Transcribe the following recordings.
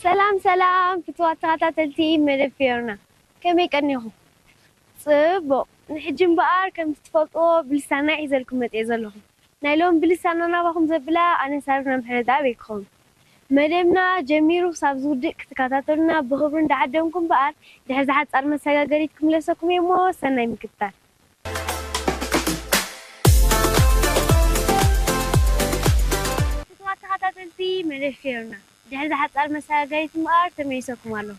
ሰላም ሰላም ፍትዋት ተኸታተልቲ መደብ ፊዮርና፣ ከመይ ቀኒኹም? ጽቡቕ። ንሕጂ እምበኣር ከምቲ ትፈልጥዎ ብልሳና ሒዘልኩም መጽየ ዘለኹ። ናይ ሎም ብልሳና ናባኹም ዘብላ ኣነ ሳርና ምሕረትኣብ እየ ክኸውን። መደብና ጀሚሩ ክሳብ ዝውድእ ክትከታተሉና ብኽብሪ እንዳዓደምኩ እምበኣር ድሕሪ ዝሓጻር መሰጋገሪት ክምለሰኩም እየ እሞ ሰናይ ምክትታል። ፍትዋት ተኸታተልቲ መደብ ፊዮርና፣ ድሕሪ ዝሓጻር መሰጋገሪት እምበኣር ተመሊሰኩም ኣለኹ።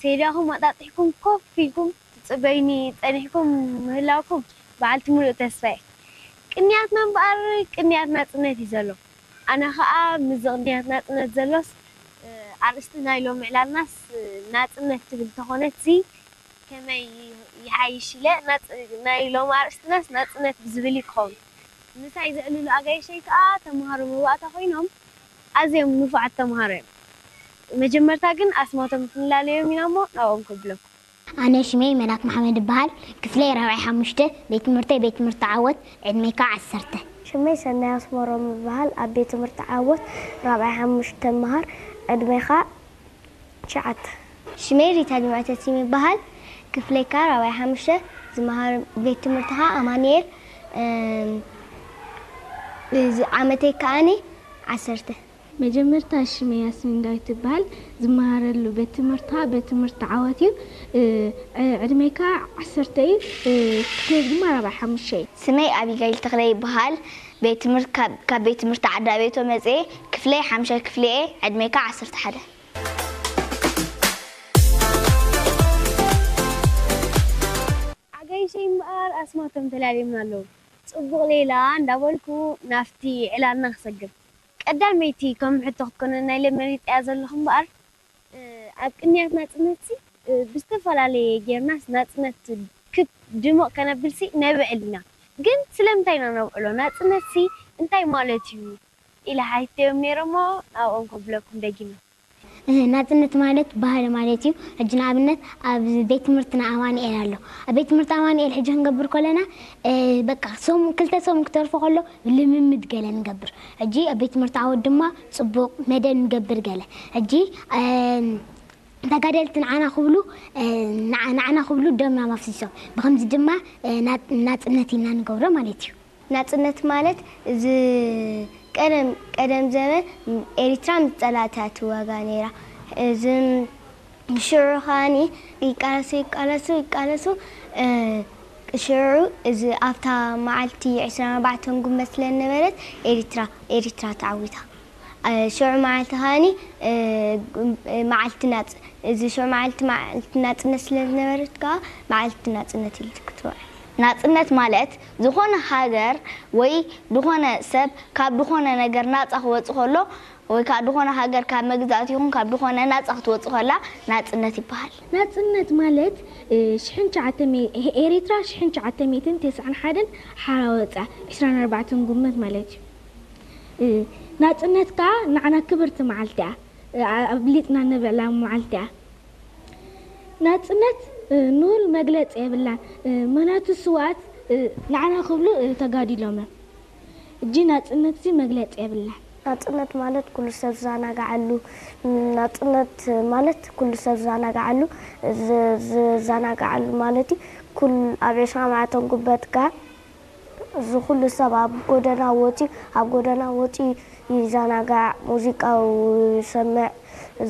ሴዳኹም ኣጣጢሕኩም ኮፍ ኢልኩም ትጽበዩኒ ጸኒሕኩም ምህላውኩም በዓልቲ ሙሉእ ተስፋ እየ። ቅንያትና እምበኣር ቅንያት ናጽነት እዩ ዘሎ። ኣነ ኸኣ ምስዚ ቅንያት ናጽነት ዘሎስ፣ እ፣ ኣርእስቲ ናይ ሎሚ ዕላልናስ፣ እ፣ ናጽነት ትብል ተኾነትሲ ከመይ ይሓይሽ ኢለ ናጽ-፣ ናይ ሎሚ ኣርእስትናስ ናጽነት ብዝብል እዩ ክኸውን። ምሳይ ዘዕልሉ ኣጋይሸይ ከኣ ተምሃሮ መባእታ ኮይኖም ኣዝዮም ንፉዓት ተምሃሮ እዮም። መጀመርታ ግን ኣስማቶም ክንላለዮም ኢና እሞ ናብኦም ከብለኩም። ኣነ ሽመይ መላክ መሓመድ እበሃል። ክፍለይ ራብዓይ ሓሙሽተ፣ ቤት ትምህርተይ ቤት ትምህርቲ ዓወት፣ ዕድመይ ከዓ ዓሰርተ። ሽመይ ሰናይ ኣስመሮም እበሃል። ኣብ ቤት ትምህርቲ ዓወት ራብዓይ ሓሙሽተ እመሃር። ዕድመይ ከዓ ትሽዓተ። ሽመይ ሪታ ጅምዐ ተሲም ይበሃል። ክፍለይ ከዓ ራብዓይ ሓሙሽተ፣ ዝመሃር ቤት ትምህርቲ ከዓ ኣማኑኤል። እም፣ እዚ ዓመተይ ከዓኒ ዓሰርተ። መጀመርታ ሽመይ ያስሚን ዳዊት ትበሃል። ዝመሃረሉ ቤት ትምህርቲ ከዓ ቤት ትምህርቲ ዓወት እዩ። እ፣ ዕ-፣ ዕድመይ ከዓ ዓሰርተ እዩ። እ፣ ክፍለይ ድማ ራብዓይ ሓሙሽተ እዩ። ስመይ ኣቢጋይል ተኽለ ይበሃል። ቤት ትምህርቲ ካብ፣ ካብ ቤት ትምህርቲ ዓዳ ቤቶ መፅየ። ክፍለይ ሓምሻይ ክፍሊ እየ። ዕድመይ ከዓ ዓሰርተ ሓደ። ኣጋይሸይ እምበኣር ኣስማቶም ተላልዮምና ኣለዉ። ጽቡቕ ሌላ እንዳበልኩ ናብቲ ዕላልና ክሰግር። ቀዳመይቲ ከም ሕቶ ክትኮነና ኢለ መሪጸያ ዘለኹ እምበኣር፣ እ፣ ኣብ ቅንያት ናጽነትሲ፣ እ፣ ብዝተፈላለየ ጌርናስ ናጽነት ክብ ድሙቕ ከነብልሲ ነብዕል ኢና። ግን ስለምንታይ ኢና ነብዕሎ? ናጽነትሲ እንታይ ማለት እዩ? ኢለ ሓቲተዮም ነይረ እሞ ናብኦም ከብለኩም ደጊመ። እህ፣ ናጽነት ማለት ባህሊ ማለት እዩ። ሕጂ ንኣብነት ኣብ ቤት ትምህርትና ኣማኑኤል ኣሎ። ኣብ ቤት ትምህርቲ ኣማኑኤል ሕጂ ክንገብር ከለና፣ እ፣ በቃ ሰሙን፣ ክልተ ሰሙን ክተርፎ ከሎ ልምምድ ገለ ንገብር። ሕጂ ኣብ ቤት ትምህርቲ ዓወት ድማ ጽቡቕ መደብ ንገብር ገለ። ሕጂ፣ እ፣ ተጋደልቲ ንዓና ክብሉ፣ እ፣ ንዓ-፣ ንዓና ክብሉ ደምና ኣፍሲሶም። ብኸምዚ ድማ፣ እ፣ ና-፣ ናጽነት ኢና ንገብሮ ማለት እዩ። ናጽነት ማለት እዚ ቀደም፣ ቀደም ዘበን ኤሪትራ ምስ ጸላእታ ትዋጋእ ነይራ። እዚ ሽዑ ከኣኒ ይቃለሱ፣ ይቃለሱ፣ ይቃለሱ፣ እ፣ ሽዑ እዚ ኣብታ መዓልቲ ዕስራን ኣርባዕተን ጉንበት ስለ ዝነበረት ኤሪትራ፣ ኤሪትራ ተዓዊታ። እ፣ ሽዑ መዓልቲ ከኣኒ፣ እ፣ መዓልቲ ናጽ-፣ እዚ ሽዑ መዓልቲ፣ መዓልቲ ናጽነት ስለ ዝነበረት ከኣ መዓልቲ ናጽነት ኢሉ ክትውዕል። ናጽነት ማለት ዝኾነ ሃገር ወይ ዝኾነ ሰብ ካብ ዝኾነ ነገር ናጻ ክወጽእ ከሎ፣ ወይ ከዓ ዝኾነ ሃገር ካብ መግዛእቲ ይኹን ካብ ዝኾነ ናጻ ክትወጽእ ከላ ናጽነት ይበሃል። ናጽነት ማለት፣ እ፣ ሽሕን ትሽዓተ ሚእቲ፣ ኤሪትራ ሽሕን ትሽዓተ ሚእትን ተስዓን ሓደን ሓራ ወጻ፣ ዕስራን ኣርባዕተን ጉንበት ማለት እዩ። እ፣ ናጽነት ከኣ ንዓና ክብርቲ መዓልቲ እያ። እ፣ ኣ-፣ ኣብሊጽና ነብዕላ መዓልቲ እያ። ናጽነት፣ እ፣ ንሁል መግለጺ የብላን። እ፣ ምኽንያቱ ስውኣት፣ እ፣ ንዓና ክብሉ፣ እ፣ ተጋዲሎም እዮም። እጂ ናጽነትሲ መግለጺ የብላን። ናጽነት ማለት ኩሉ ሰብ ዝዘናግዓሉ፣ ናጽነት ማለት ኩሉ ሰብ ዝዘናግዓሉ፣ ዝ-፣ ዝዘናግዓሉ ማለት እዩ። ኩል-፣ ኣብ ዕስራ መዓልቶም ጉበት ከኣ እዚ ኩሉ ሰብ ኣብ ጎደና ወጺኡ፣ ኣብ ጎደና ወጺኡ ይዘናጋዕ፣ ሙዚቃ ይሰምዕ፣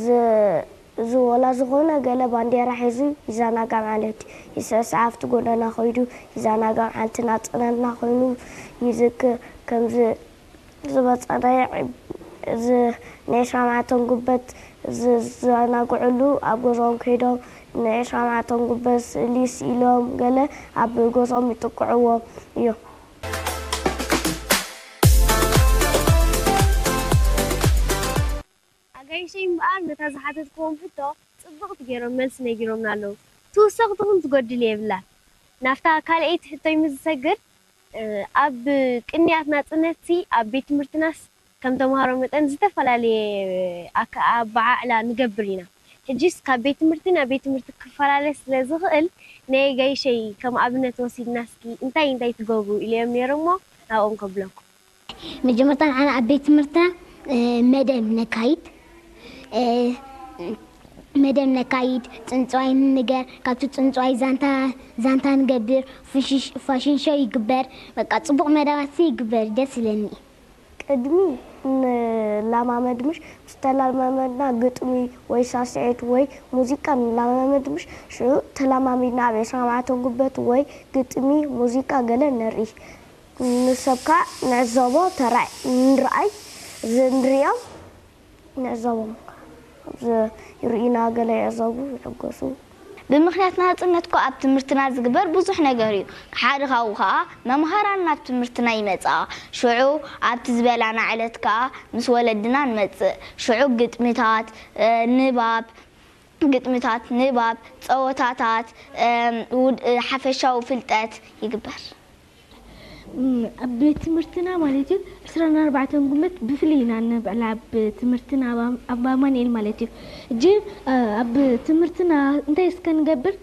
ዝ-፣ እዚ ወላ ዝኾነ ገለ ባንዴራ ሒዙ ይዘናጋዕ ማለት እዩ። ይስዕስዕ፣ ኣብቲ ጎደና ከይዱ ይዘናጋዕ፣ መዓልቲ ናጽነትና ኮይኑ ይዝክር። ከምዚ ዝበጸናዮ፣ እዚ ናይ ዕስራ መዓልቶም ጉበት ዝዘናግዕሉ፣ ኣብ ገዛኦም ከይዶም ናይ ዕስራ መዓልቶም ጉበት ስእሊ ስኢሎም ገለ ኣብ ገዛኦም ይጥቅዕዎም እዮም። ኣጋይሸይ እምበኣር ነታ ዝሓተትክዎም ሕቶ ጽብቕቲ ገይሮም መልሲ ነጊሮምና ኣለዉ። ትውሰኽ ትኹን ትጎድል የብላን። ናብታ ካልኣይቲ ሕቶይ ምስ ዝሰግር፣ እ፣ ኣብ ቅንያት ናጽነትሲ ኣብ ቤት ትምህርትናስ ከም ተምሃሮ መጠን ዝተፈላለየ ኣከ-፣ ኣበዓዕላ ንገብር ኢና። ሕጂስ ካብ ቤት ትምህርቲ ናብ ቤት ትምህርቲ ክፈላለ ስለ ዝኽእል፣ ናይ ኣጋይሸይ ከም ኣብነት ወሲድና እስኪ እንታይ እንታይ ትገብሩ ኢለዮም ነይረ እሞ ናብኦም ከብለኩም። መጀመርታ ንዓና ኣብ ቤት ትምህርትና፣ እ፣ መደብ ነካይድ። እ፣ መደብ ነካይድ፣ ጽንጽዋይ ንንገር፣ ካብቲ ጽንጽዋይ ዛንታ ዛንታ ንገብር፣ ፍሽሽ- ፋሽን ሾው ይግበር። በቃ ጽቡቕ መደባት ይግበር፣ ደስ ይለኒ። ቅድሚ ንላማመድ ምሽ ምስ ተላማመድና ግጥሚ ወይ ሳስዒት ወይ ሙዚቃ ንላማመድ ምሽ ሽዑ ተላማሚድና ኣብ ዕስራን ኣርባዕተን ጉበት ወይ ግጥሚ ሙዚቃ ገለ ነርኢ ንሰብ ከዓ ንዕዘቦ ተራይ ንርኣይ ንሪኦም ንዕዘቦም ይርኢና ገለ ይዕዘቡ ይሕገሱ። ብምኽንያት ናጽነት እኮ ኣብ ትምህርትና ዝግበር ብዙሕ ነገር እዩ። ሓደ ካብኡ ከኣ መምሃራን ናብ ትምህርትና ይመጻ። ሽዑ ኣብቲ ዝበላና ዕለት ከኣ ምስ ወለድና ንመጽእ። ሽዑ ግጥምታት፣ ንባብ፣ ግጥምታት፣ ንባብ፣ ጸወታታት፣ ሓፈሻዊ ፍልጠት ይግበር። ኣብ ቤት ትምህርትና ማለት እዩ ዕስራን ኣርባዕተን ጉመት ብፍልይ ኢና ነብዕላ ኣብ ትምህርትና ኣብ ኣማንኤል ማለት እዩ። እጂ ኣብ ትምህርትና እንታይ እስከ ንገብር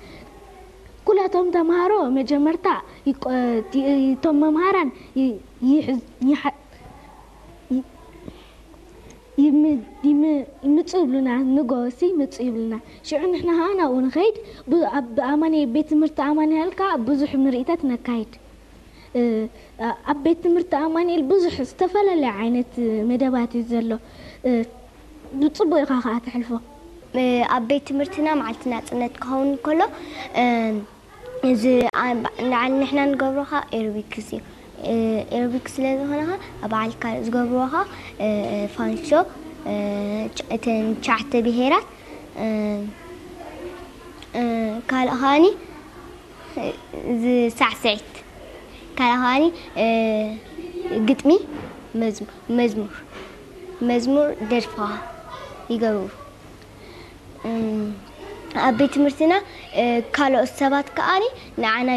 ኩላቶም ተምሃሮ መጀመርታ እቶም መምሃራን ይምፁ ይብሉና ንጎሲ ምፁ ይብሉና ሽዑ ንሕና ከዓ ናብኡ ንኸይድ ኣብ ኣማንኤል ቤት ትምህርቲ ኣማንኤል ከዓ ብዙሕ ምርኢታት ነካይድ ኣብ ቤት ትምህርቲ ኣማንኤል ብዙሕ ዝተፈላለየ ዓይነት መደባት እዩ ዘሎ ብፅቡቅ ኢኻ ከዓ ተሕልፎ ኣብ ቤት ትምህርትና መዓልቲ ናፅነት ክኸውን ከሎ እዚ ንዓል ንሕና ንገብሮ ከዓ ኤሮቢክስ እዩ ኤሮቢክስ ስለ ዝኾነ ከዓ ኣብ በዓል ካልእ ዝገብርዎ ከዓ ፋንሾ እተን ትሽዓተ ብሄራት ካልእ ከዓኒ ሳዕስዒት ካልእ ከዓኒ ግጥሚ መዝሙር መዝሙር ደርፊ ከዓ ይገብሩ ኣብ ቤት ትምህርትና ካልኦት ሰባት ከዓኒ ንዓና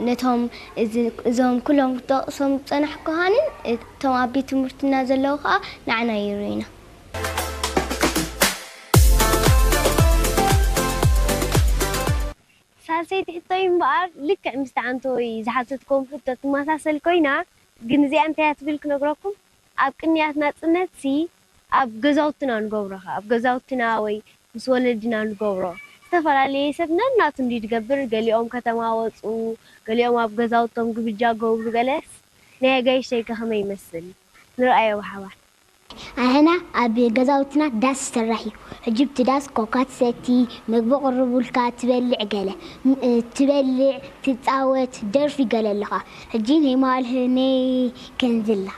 ነቶም እዞም ኩሎም ክጠቕሶም ዝፀናሕኩ ከዓኒ እቶም ኣብ ቤት ትምህርትና ዘለዉ ከዓ ንዓና ይርእዩና ሳልሰይቲ ሕቶይ እምበኣር ልክዕ ምስቲ ዓንቶይ ዝሓተትክዎም ሕቶ ትመሳሰል ኮይና ግን እዚኣ እንታይ እያ ትብል ክነግረኩም ኣብ ቅንያት ናጽነትሲ ኣብ ገዛውትና ንገብሮ ከኣ ኣብ ገዛውትና ወይ ምስ ወለድና ንገብሮ ዝተፈላለየ ሰብ ነናቱ እንዲ ዝገብር ገሊኦም ከተማ ወጹ ገሊኦም ኣብ ገዛውቶም ግብጃ ገብሩ ገለስ ናይ ኣጋይሽተይ ከ ከመይ ይመስል ንርኣዮ ብሓባር ኣሕና ኣብ ገዛውትና ዳስ ይስራሕ እዩ። ሕጂ ብቲ ዳስ ኮካ ትሰቲ፣ ምግቢ ቅርቡልካ፣ ትበልዕ ገለ ትበልዕ፣ ትጻወት፣ ደርፊ ገለ ኣለኻ። ሕጂ ናይ መዋእል ናይ ከንዝላ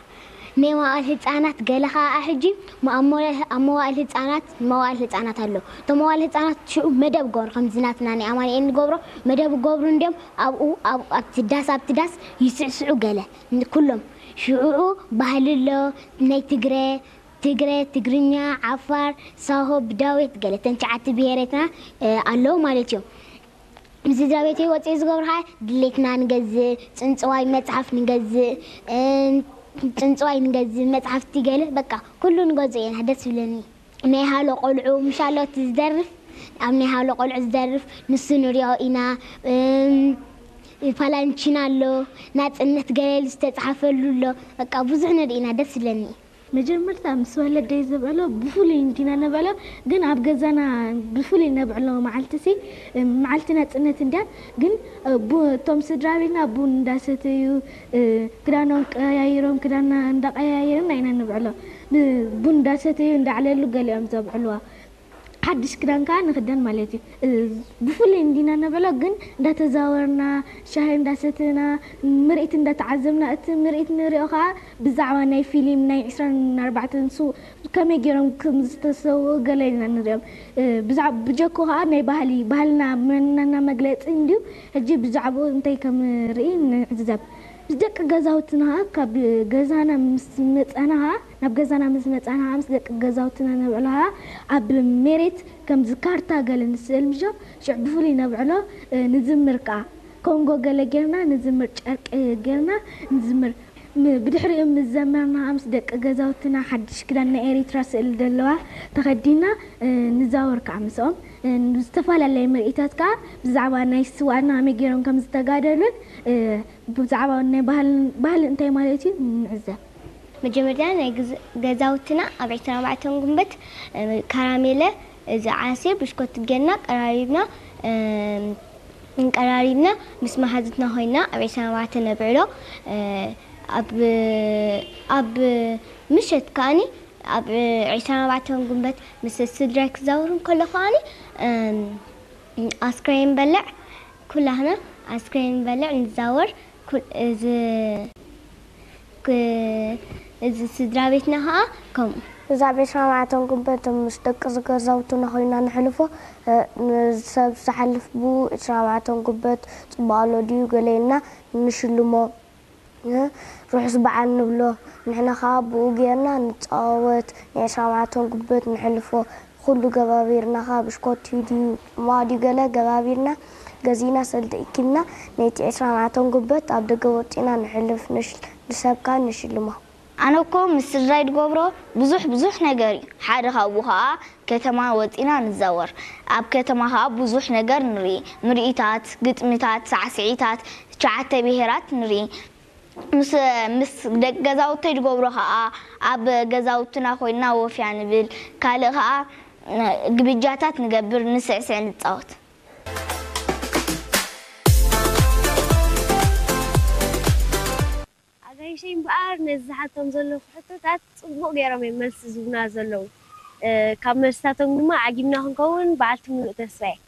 ናይ መዋእል ህጻናት ገለ ከኣ ሕጂ ኣብ መዋእል ህጻናት መዋእል ህጻናት ኣሎ። እቶም መዋእል ህጻናት ሽዑ መደብ ገብሩ ከምዚ ናትና ናይ ኣማኑኤል ንገብሮ መደብ ገብሩ እንድዮም ኣብኡ ኣብቲ ዳስ ኣብቲ ዳስ ይስዕስዑ ገለ ኩሎም ሽዑ ባህሊ ኣሎ ናይ ትግረ ትግረ፣ ትግርኛ፣ ዓፋር፣ ሳሆ፣ ብዳዌት ገለ ተን ትሽዓተ ብሄረትና ኣለዉ ማለት እዮም። ምስ ስድራ ቤተይ ወፂኤ ዝገብሮ ከዓ ድሌትና ንገዝእ፣ ፅንፅዋይ መፅሓፍ ንገዝእ፣ ፅንፅዋይ ንገዝእ፣ መፅሓፍቲ ገለ በቃ ኩሉ ንገዝኦ ኢና ደስ ዝብለኒ። ናይ ሃሎ ቆልዑ ምሽ ኣሎ እቲ ዝደርፍ ኣብ ናይ ሃሎ ቆልዑ ዝደርፍ ንሱ ንሪኦ ኢና። ፓላንቺና ኣሎ፣ ናፅነት ገለ ዝተፅሓፈሉ ኣሎ። በቃ ብዙሕ ንርኢ ኢና ደስ ዝብለኒ እዩ። መጀመርታ ምስ ወለደይ ዘብዕሎ ብፍሉይ እንዲና ነብዕሎ ግን ኣብ ገዛና ብፍሉይ ነብዕሎ መዓልቲ ሲ መዓልቲ ናፅነት እንድያ ግን እቶም ስድራ ቤትና ቡን እንዳሰተዩ ክዳኖም ቀያይሮም ክዳንና እንዳቀያየርና ኢና ነብዕሎ ቡን እንዳሰተዩ እንዳዕለሉ ገሊኦም ዘብዕልዋ ሓድሽ ክዳን ከዓ ንክደን ማለት እዩ። ብፍሉይ እንዲና ነበሎ ግን እንዳተዛወርና ሻሂ እንዳሰተና ምርኢት እንዳተዓዘብና እቲ ምርኢት ንሪኦ ከዓ ብዛዕባ ናይ ፊሊም ናይ ዕስራን ኣርባዕተን ስው ከመይ ገይሮም ከም ዝተሰውኡ ገለ ኢና ንሪኦም። ብጀኮ ከዓ ናይ ባህሊ ባህልና መንነትና መግለፂ እንድዩ። ሕጂ ብዛዕባኡ እንታይ ከም ርኢ ንዕዘብ። ምስ ደቂ ገዛውትና ካብ ገዛና ምስ መፃና ከዓ ናብ ገዛና ምስ መፃና ምስ ደቂ ገዛውትና ነብዕሎ ከዓ ኣብ ሜሬት ከምዚ ካርታ ገለ ንስእል ምሾ ሽዕ ብፍሉይ ነብዕሎ ንዝምር ከዓ ኮንጎ ገለ ጌርና ንዝምር ጨርቂ ጌርና ንዝምር ብድሕሪኡ ምስ ዘመርና ከዓ ምስ ደቂ ገዛውትና ሓድሽ ክዳን ናይ ኤሪትራ ስእል ዘለዋ ተኸዲና ንዛወር ከዓ ምስኦም ዝተፈላለየ ምርኢታት ከዓ ብዛዕባ ናይ ስዋና ከመይ ገይሮም ከም ዝተጋደሉን ብዛዕባ ናይ ባህሊ እንታይ ማለት እዩ ንዕዘብ። መጀመርያ ናይ ገዛውትና ኣብ ዕስራን ኣርባዕተን ጉንበት ካራሜለ፣ እዚ ዓሲር ብሽኮት ገና ቀራሪብና፣ ቀራሪብና ምስ መሓዙትና ኮይና ኣብ ዕስራን ኣርባዕተን ነብዕሎ። ኣብ ኣብ ምሸት ከኣኒ ኣብ ዕስራን ኣርባዕተን ጉንበት ምስ ስድራይ ክዛወር እንከሎ ከኣኒ ኣስክሬን በልዕ፣ ኩላህና ኣስክሬን በልዕ ንዛወር። ኩል- እዚ ክ- እዚ ስድራ ቤትና ከዓ ከምኡ። እዛ ኣብ ዕስራን ኣርባዕተን ጉንበት ምስ ደቂ ገዛውትና ኮይና ንሕልፎ። ሰብ ዝሓልፍ ብኡ ዕስራን ኣርባዕተን ጉንበት ጽቡቕ ኣሎ ድዩ ገለ ኢልና ንሽልሞ። ርሑስ በዓል ንብሎ። ንሕና ከዓ ብኡ ጌርና ንጻወት፣ ናይ ዕስራን ኣርባዕተን ጉንበት ንሕልፎ። ኩሉ ገባቢርና ከዓ ብሽኮት ድዩ፣ ጽማቕ ድዩ ገለ ገባቢርና ገዚእና ሰልዲ እኪብና ነቲ ዕስራን ኣርባዕተን ጉንበት ኣብ ደገ ወጺና ንሕልፍ፣ ንሽ- ንሰብካ ንሽልሞ። ኣነ እኮ ምስ ስድራይ ድገብሮ ብዙሕ ብዙሕ ነገር እዩ። ሓደ ካብኡ ከዓ ከተማ ወጺና ንዛወር። ኣብ ከተማ ከዓ ብዙሕ ነገር ንርኢ። ምርኢታት፣ ግጥምታት፣ ሳዕስዒታት፣ ትሽዓተ ብሄራት ንርኢ። ምስ ምስ ደቂ ገዛውተይ ድገብሮ ከዓ ኣብ ገዛውትና ኮይና ወፍያ ንብል። ካልእ ከዓ ግብጃታት ንገብር፣ ንስዕስዕ፣ ንጻወት። ኣጋይሸይ እምበኣር ነዚ ዝሓቶም ዘለኹ ሕቶታት ጽቡቕ ገይሮም እዮም መልሲ ዝህቡና ዘለዉ። ካብ መልስታቶም ድማ ዓጊብና ክንከውን በዓልቲ ምሉእ ተስፋ እየ።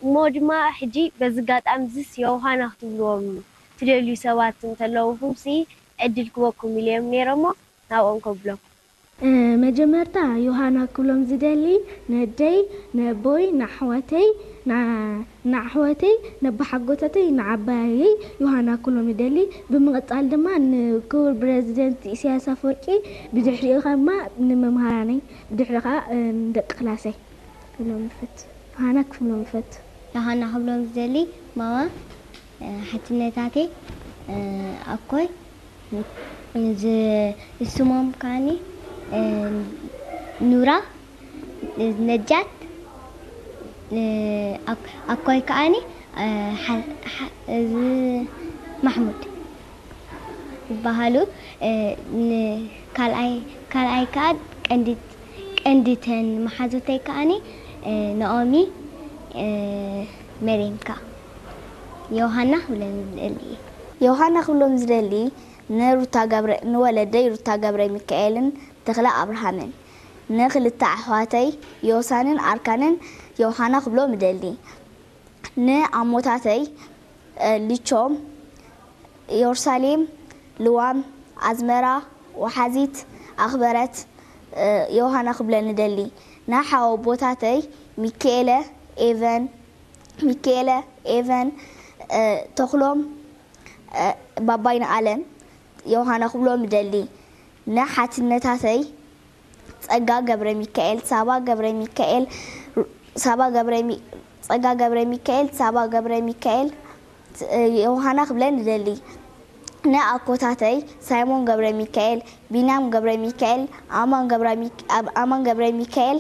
እሞ ድማ ሕጂ በዚ ኣጋጣሚ እዚስ ዮሃና ክትብልዎም ትደልዩ ሰባት እንተለውኹምሲ ዕድል ክበኩም ኢለ እዮም ነይረ እሞ ናብኦም ከብለኩም። መጀመርታ ዮሃና ክብሎም ዝደሊ ነደይ፣ ነቦይ፣ ንኣሕዋተይ፣ ንኣሕዋተይ፣ ነባሓጎታተይ፣ ንዓባየይ ዮሃና ክብሎም ይደሊ። ብምቕጻል ድማ ንክቡር ፕረዚደንት ኢሳያስ ኣፈወርቂ፣ ብድሕሪኡ ከማ ንመምሃራነይ፣ ብድሕሪ ከኣ ንደቂ ክላሰይ ክብሎም ይፈቱ። ዮሃና ክብሎም ይፈቱ። ዮሃና ክብሎም ዝደሊ ማማ፣ ሓትነታተይ፣ ኣኮይ፣ እዚ ስሞም ከኣኒ ኑራ፣ ነጃት፣ ኣኮይ ከኣኒ እዚ ማሕሙድ ይበሃሉ። ካልኣይ ካልኣይ ከኣ ቀንዲ ቀንዲተን መሓዙተይ ከኣኒ ናኦሚ፣ መሬም ከኣ ዮሃና ክብለን ዝደሊ እየ። ዮሃና ክብሎም ዝደሊ ንሩታ ገብረ ንወለደይ ሩታ ገብረ ሚካኤልን ተኽለ ኣብርሃምን፣ ንክልተ ኣሕዋተይ ዮሳንን ኣርካንን ዮሃና ክብሎም እደሊ። ንኣሞታተይ ሊቾም፣ ኢየሩሳሌም፣ ልዋም፣ ኣዝመራ፣ ወሓዚት፣ ኣኽበረት፣ ዮሃና ክብለን እደሊ። ንሓወቦታተይ ሚካኤለ፣ ኤቨን፣ ሚካኤለ፣ ኤቨን፣ ተኽሎም፣ ባባይ ንኣለም ዮሃና ክብሎም እደሊ። ንሓትነታተይ ጸጋ ገብረሚካኤል፣ ሳባ ገብረሚካኤል፣ ሳባ ገብረሚ ጸጋ ገብረሚካኤል፣ ሳባ ገብረሚካኤል፣ ዮሃና ክብለን እደሊ። ንኣኮታተይ ሳይሞን ገብረሚካኤል፣ ቢንያም ገብረሚካኤል፣ ኣማን ገብረሚካኤል ኣማን ገብረሚካኤል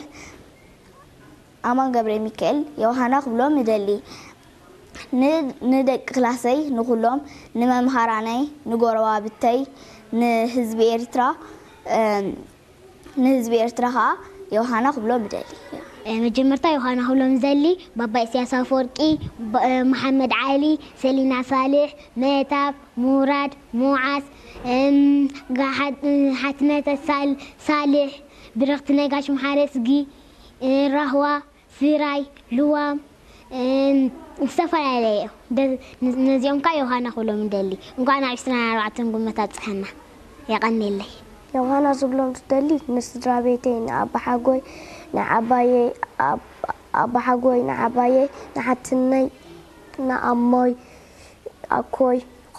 ኣማን ገብረሚካኤል ዮሃና ክብሎም እደሊ። ንደቂ ክላሰይ ንኹሎም፣ ንመምሃራነይ፣ ንጎረባብተይ፣ ንህዝቢ ኤርትራ፣ ንህዝቢ ኤርትራ ኸኣ ዮሃና ክብሎም እደሊ። መጀመርታ ዮሃና ክብሎም ዝደሊ ባባ ኢሳያስ ኣፈወርቂ፣ መሓመድ ዓሊ፣ ሰሊና ሳልሕ፣ መህታብ፣ ሙራድ፣ ሙዓዝ፣ ሓትነተ ሳልሕ፣ ብርኽቲ ነጋሽ፣ መሓረስጊ፣ ራህዋ፣ ስራይ፣ ልዋም፣ ዝተፈላለየ እዮም። ነዚኦም ከኣ ዮሃና ክብሎም እደሊ። እንኳዕ ናብ ዕስራን ኣርባዕተን ጉንበት ኣብጽሓና። የቐንየለይ። ዮሃና ዝብሎም ዝደሊ ንስድራ ቤተይ፣ ንኣባሓጎይ፣ ንዓባየይ፣ ኣባሓጎይ፣ ንዓባየይ፣ ንሓትነይ፣ ንኣሞይ፣ ኣኮይ፣